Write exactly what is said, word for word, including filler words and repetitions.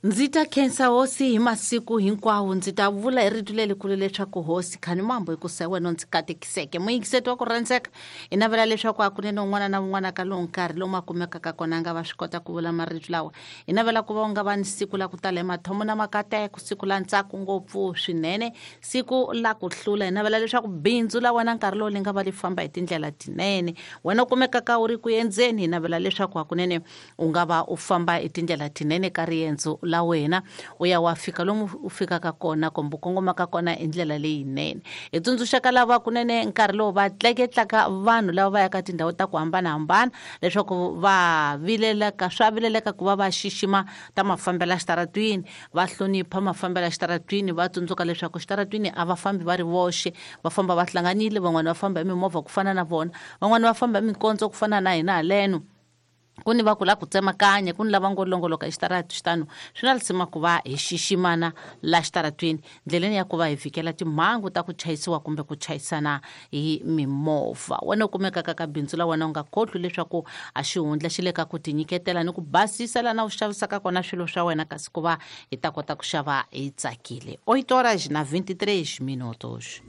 Ndzi ta khensa hosi hi masiku hinkwawo, ndzi ta vula hi rito lelikulu leswaku hosi khani mambo hikusa hi wena u ndzi katekiseke. Muyingiseti wa ku rhandzeka, hi navela leswaku hakunene un'wana na un'wana ka lowu nkarhi lomu a kumekaka kona a nga va swi kota ku vula marito lawa. Hi navela ku va u nga va ni siku la ku tala hi mathomo na makateko, siku la ntsako ngopfu swinene, siku la ku hlula. Hi navela leswaku bindzu la wena nkarhi lowu li nga va li famba hi tindlela tinene. Wena u kumekaka u ri ku endzeni, hi navela leswaku hakunene u nga va u famba hi tindlela tinene ka riendzo la wena, u ya wa fika lomu u fikaka kona kumbe u kongomaka kona hi ndlela leyinene. Hi tsundzuxaka lava kunene nkarhi lowu va tleketlaka vanhu lava va yaka tindhawu ta ku hambanahambana leswaku va vileleka, swa vileleka ku va va xixima ta mafambelo ya xitaratwini, va hlonipha mafambelo ya xitaratwini, va tsundzuka leswaku xitaratwini a va fambi va ri voxe, va famba va hlanganile, van'wani va famba hi mimovha ku fana na vona, van'wani va famba hi mikondzo ku fana na hina haleno. Ku ni va ku la ku tsemakanya, ku ni lava ngo longoloka exitarati xitano. Swi na lisima ku va hi xiximana la xitaratwini ndleleni ya ku va hi vhikela timhangu ta ku chayisiwa kumbe ku chayisana hi mimovha. Wena u kumekaka ka bindzu la wena u nga khohlwi leswaku a xihundla xi le ka ku tinyiketela ni ku basisa lana u xavisaka kona swilo swa wena, kasi ku va hi ta kota ku xava hi tsakile. Oito horas na vinte e três minutos.